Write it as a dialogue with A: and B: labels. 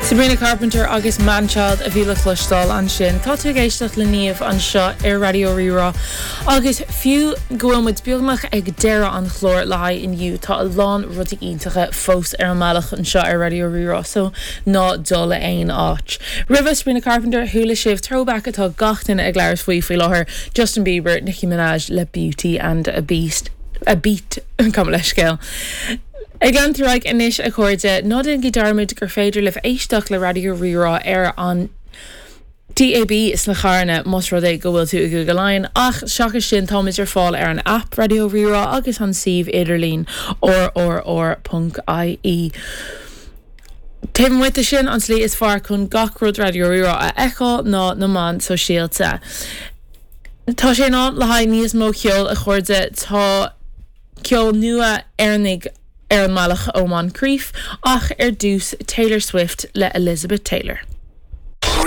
A: Sabrina Carpenter agus Manchild a bhí le cloisteáil ansin. Tá tú ag éisteacht le Niamh anseo ar Raidió Rí-Rá agus fiú go bhfuil muid beagnach ag deireadh an chláir le haghaidh inniu tá a lán rudaí iontacha fós ar an mbealach anseo ar Raidió Rí-Rá so ná dul aon áit. Roimhe Sabrina Carpenter chuala sibh throwback atá gach duine ag labhairt faoi faoi láthair, Justin Bieber, Nicki Minaj le Beauty and a Beast, a Beat, gabh mo leithscéal. Ag leanúint ar aghaidh anois a chairde, ná déanaigí dearmad gur féidir libh éisteacht le Raidió Rí-Rá ar an DAB sna carranna más rud é go bhfuil tú i gCúige Laighean, ach seachas sin táimid ar fáil ar an aip Raidió Rí-Rá agus an suíomh idirlín rrr.ie. Taobh amuigh de sin, an tslí is fearr chun gach rud Raidió Rí-Rá a fheiceáil ná na meáin sóisialta. Tá sé in am le haghaidh níos mó ceoil a chairde, tá. Ceol nua Éireannaigh ar an mbealach ó Moncrieff, ach ar dtús Taylor Swift le Elizabeth Taylor.